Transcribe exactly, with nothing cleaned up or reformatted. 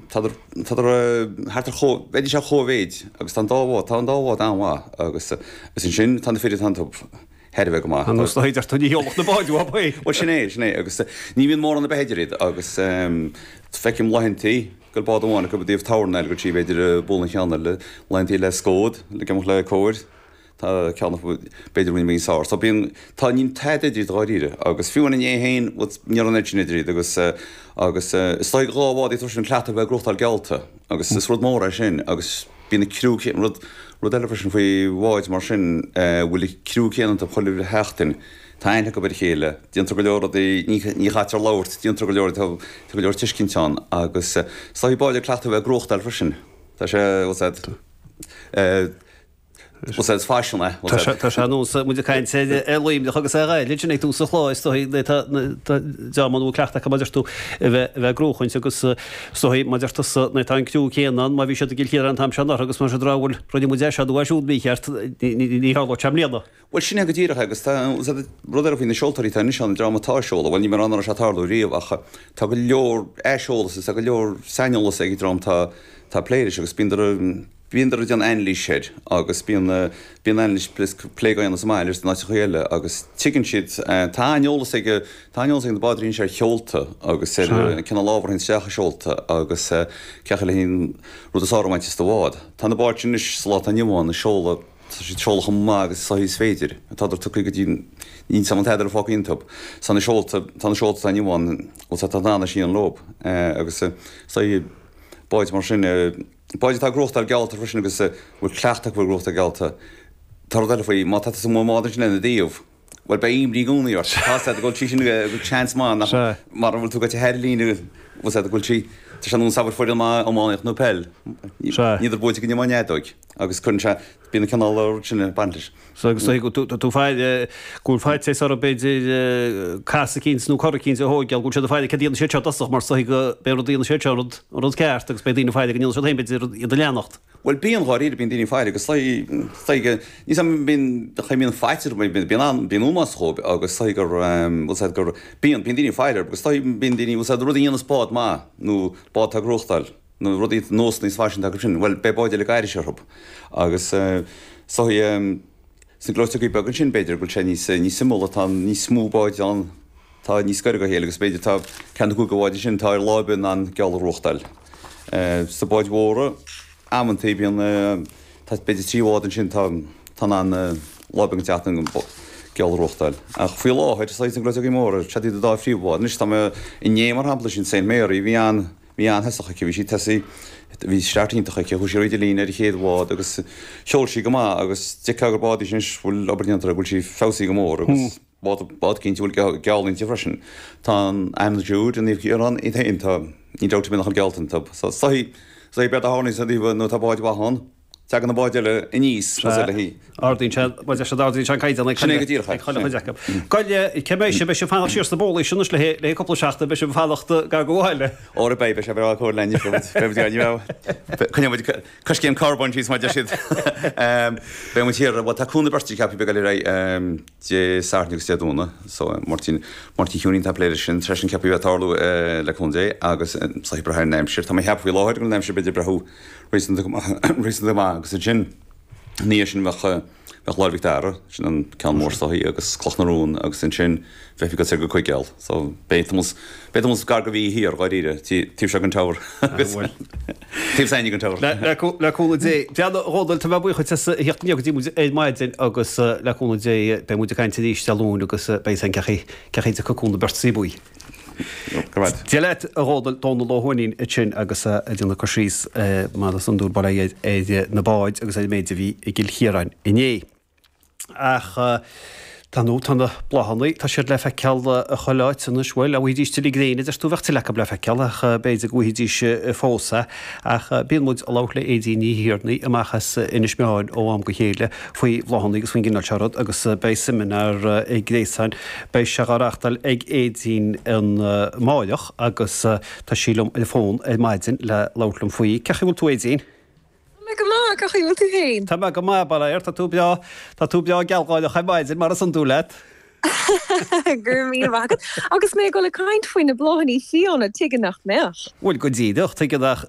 Tádar thart ar chomh, bheidís ar chóimhéid agus tá an dá bhád, tá an dá bhád an-mhaith agus agus ansin tá na fir atá iontu thar a bheith go maith. An nós a deir tú ní sheolfadh na báid uathu é. Bhuel sin é, sin é agus ní bhíonn mórán ar bith idir iad agus feicim laethantaí go bhfuil bád amháin acu i dtaobh torna eile go dtí b'fhéidir bualadh an cheann eile, laethantaí le scód, le go mbeadh le cóir. Tá ceann acu b'fhéidir ruainne níos fearr. So bíonn, tá, níl tada idir iad dháiríre agus fiú amháin inné féin, bhuel, ní raibh an oiread sin idir iad agus, agus is dóigh dhá bhád iad freisin cleachtadh a bheith ag gnóthachtáil geallta agus is rud mór é sin agus bíonn an criú céanna, rud, rud eile freisin faoi bháid mar sin, bhfuil an criú céanna iontu chuile sheachtain, tá aithne acu ar a chéile, déantar go leor rudaí, ní, ní chaitear labhairt, déantar go leor, tá, tá go leor tuiscint ann agus is dóigh báid ag cleachtadh a bheith ag gnóthachtáil freisin. Tá sé, bhfuil a fhios a'd, Bhuel, is faisean é. Tá sé tá sé ar nós muid ag caint ar Luimneach agus ar Ghaillimh sin ag tús an chláir is dóigh tá dream an bhfuil cleachtadh acu mar a deir tú a bheith a bheith ag gnóchaint agus is dóigh mar a deir tusa nuair atá an criú céanna ann má bhí siad i gCill Chiaráin an t-am seo anuraidh agus mar sin bhuel rinne muid é seo nó é siúd mícheart ní tharlóidh sé i mbliana. Bhuel sin é go díreach agus tá rud eile faoi na seoltóirí atá anois ann an dream atá ag seoladh, bhuel níl mé ag rá nach raibh sé ag tarlú riamh ach tá go leor aiseolas agus tá go leor saineolas ag an dream atá ag plé leis agus bíonn Bíondar ag déanamh anailís air agus bíonn bíonn anailís plé á dhéanamh sa mbaile agus in áiteacha eile agus tuigeann siad tá an-eolas ag tá an-eolas ag na bádóirí anois ar sheolta agus ar cineál ábhar a théann isteach i seolta agus cén chaoi le an rud is fearr a bhaint as do bhád. Tá na báid sin anois sa lá atá inniu ann ag seoladh tá siad ag seoladh chomh maith agus is is féidir. Tádar tugtha go dtí níl 's a'm an tada eile fágtha iontu. Tá na seolta tá na seolta atá inniu ann bhuel tá tá an-síon leo agus is báid mar sin Báid atá ag gnóthachtáil geallta freisin agus a bhfuil cleachtadh acu ar ghnóthachtáil geallta. Tá rud eile faoi, má tá tusa amuigh i mbád ansin lena dtaobh, bhuel beidh imní i gcónaí ort. Tá 's a'd go bhfuil sí sin go bhfuil seans maith nach mara bhfuil tú goite thar an líne bhfuil 's a'd go bhfuil sí tá sé ar nós abair foireann maith iománaíocht nó peil. Níodar buaite go dtí an fheadóig agus cuireann sé bíonn an cineál rud sin ag baint leis. So agus go tú faire go bhfuil faitíos orthu b'fhéidir cas eicínt nó cor eicínt a thóigeáil, go bhfuil siad ag faire céard a dhéanfaidh siad seo i dtosach mar is dóigh go b'é an rud a dhéanfaidh siad seo an rud an rud ceart agus beidh daoine ag faire go ndéanfaidh siad féin b'fhéidir iad a leanacht. Bhuel bíonn dháiríre, bíonn daoine ag faire agus is dóigh go níl 's a'm bíonn cha mbíonn faitíos orthu bíonn bíonn an bíonn ómós dhóibh agus is dóigh gur bhfuil 's a'd gur bíonn bíonn daoine ag faire orthu agus is dóigh bíonn daoine bhfuil 's a'd rud a dhéanas bád maith nó bád atá ag gnóthachtáil nó rudaí nósanna is faisean atá acu sin, bhuel beidh báid eile ag aithris orthu agus is dóigh sna gleoiteogaí beaga ansin b'fhéidir go bhfuil sé níos níos suimiúla, tá níos mó báid ann tá níos gaire dá chéile agus b'fhéidir tá ceann nó cúigear báid ansin atá ar lá ar bith in ann geall a ghnóthachtáil. Sna báid mhóra amantaí bíonn tá b'fhéidir trí bhád ansin tá tá in ann lá ar bith den tseachtain geall a ghnóthachtáil. Ach faoi láthair is sna gleoiteogaí móra siad iad an dá phríomhbhád. Anois tá mé inné mar shampla sin Saint Mary bhí an Bhí an-thosach aici, bhí sí tosaí, bhí start iontach aici, chuaigh sí thríd an líne ar an chéad bhád agus sheol sí go maith agus d'fheicfeá gur bád í sin anois a bhfuil obair déanta uirthi, go bhfuil sí feabhsaithe go mór agus bád, bád cinnte a bhfuil geall inti freisin. Tá an Anna Jude i Naomh Ciarán iad féin, tá, ní dabht ar bith nach bhfuil geallta iontu. So, is dóichí, is dóichí b'éard a tharlaíonn sa dtaobh nuair atá báid mhaith ann, Tagann na báid eile aníos más ea léi. Ardaíonn sé, mar deir siad, ardaíonn sé an caighdeán ag Sin é go díreach é. ag chuile chuid acu. Goile, cé mbeidh sibh, beidh sibh ag fanacht siar sna bólaí sin anois le haghaidh cúpla seachtain, beidh sibh ag fanacht gar do bhaile. Óra beidh, beidh sé breá cóir linn, beidh muid, beidh muid, ní bheidh, coinneoidh muid coiscéim carbóin síos mar a deir siad. Beidh muid thiar, bhuel tá cúnamh beirte ceaptha beag eile ar aghaidh Dé Sathairn agus Dé Domhnaigh, so Máirtín, Máirtín Chiúinín atá ag plé leis sin, tar éis sin ceaptha a bheith ag tarlú le cúnamh Dé agus is ag brath ar an aimsir. Tá mé ag ceapadh faoi láthair go bhfuil an aimsir b'fhéidir ag breathú Réasúnta go maith, réasúnta go maith agus ansin, ina dhiaidh sin bheadh, bheadh Lá'l Mhic Dara, sin an ceann mór is dóichí, agus Cloch na Rón agus ansin bheifí ag dul soir go Coigéal. So beidh tamall, beidh tamall gar do mhí thiar, dháiríre, taobh seo den Tower agus taobh s'againne den Tower. Le, le, le cúnamh Dé. Bhuel, a Dhónaill, tá mé buíoch duit as a theacht aniar go dtí muid ar maidin agus le cúnamh Dé beidh muid ag caint arís Dé Luain agus beidh a fhios againn cén chaoi, cén chaoi a dtiocfaidh cúnamh beirt sa bhuí. Dia leat, a Dhónaill, Dónall Ó hUaithnín ansin agus é ag déanamh cur síos mar is iondúil bail ó Dhia ar na báid agus ar an méid a bhí i gCill Chiaráin inné. Ach tá nó tá na bláthanna, tá siad le feiceáil chuile áit anois, bhuel, dá bhfaighidís tuilleadh gréine, deir tú, bheadh tuilleadh acu le feiceáil ach b'fhéidir go bhfaighidís fós é. Ach bíonn muid ag labhairt le Aedín Ní Thiarnaigh amach as Inis Meáin ó am go chéile faoi bhláthanna agus faoin gcineál seo rud agus beidh seimineár gréasáin, beidh sé á reáchtáil ag Aedín amáireach agus tá sí liom ar an bhfón ar maidin le labhairt liom faoi. Cén chaoi a bhfuil tú Aedín? Tá mé go maith, cén chaoi a bhfuil tú féin? Tá mé go maith, bail ó Dhia ort, tá tú breá, tá tú breá gealgháireach ar maidin mar is iondúil leat. Go raibh míle maith agat. Agus mé ag dul ag caint faoi na bláthanna fiáine, tuige nach mbeadh? Bhuel, go díreach, tuige nach.